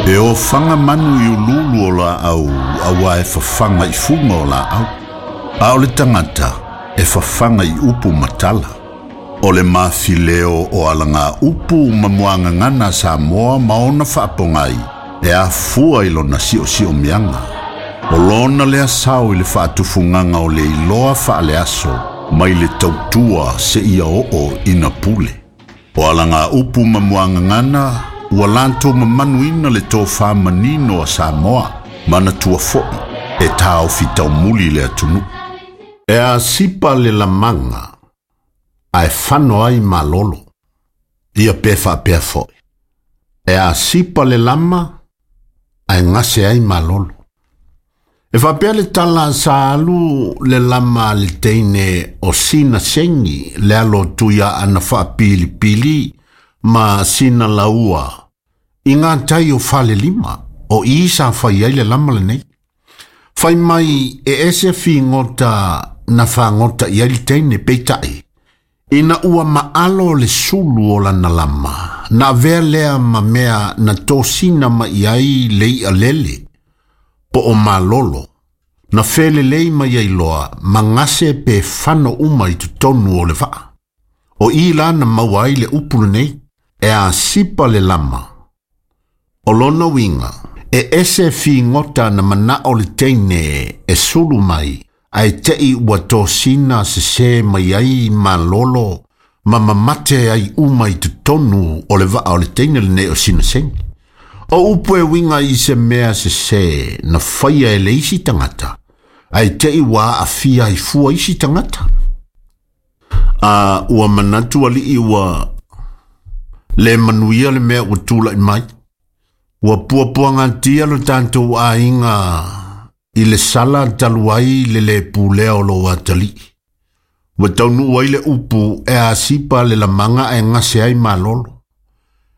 E ofaga manu i uluulu o laau auā e fafaga i fuga o laau, a o le tagata e fafaga i upu ma tala. O le mafileo o alagaupu ma muagagana a Samoa ma ona faapogai e afua i lona siosiomiaga. O lona lea sao i le faatufugaga o le iloa faaleaso mai le tautua seia oo ina pule. O alagaupu ma muagagana ua latou mamanuina le tofa manino a Samoa, manatua foi e taofi taumuli le atunuu. E asipa le lamaga ae fano ai malolo. Ia pe faapea foi. E asipa le lama ae gase ai malolo. E faapea le tala sa alu le lama a le teine o sina segi le alo o Tuiaana faapilipili ma sina laua i gatai o Falelima o i sa fai ai le lama lenei. Fai mai e ese figota na fagota i ai le teine peitai. Ina ua maalo le sulu o lana lama, na avea lea ma mea na tosina mai ai le i'a lele, po o malolo, na felelei mai ai loa ma gase pe fano uma i totonu o le vaa. O i la na maua ai le upu lenei, e asipa le lama. O lona uiga, e ese figota na manao le teine e sulu mai, ae te'i ua tosina sesē mai ai malolo ma mamate ai uma i totonu o le vaa o le teine lenei o Sinasegi. O upu e uiga i se mea sesē na faia e le isi tagata, ae te'i ua aafia ai fua isi tagata. A ua manatu alii ua le manuia le mea ua tula'i mai. Ua puapuagatia lo tatou aiga i le sala talu ai le lē pulea o lou atalii. Ua taunuu ai le upu e asipa le lamaga ae gase ai malolo.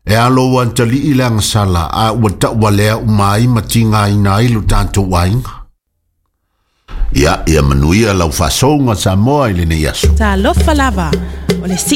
E a lou atalii le agasala a ua tauvalea uma ai ma tigaina ai lo tatou aiga. Ia, ia manuia lau faasouga Samoa i lenei aso. Talofa lava, o le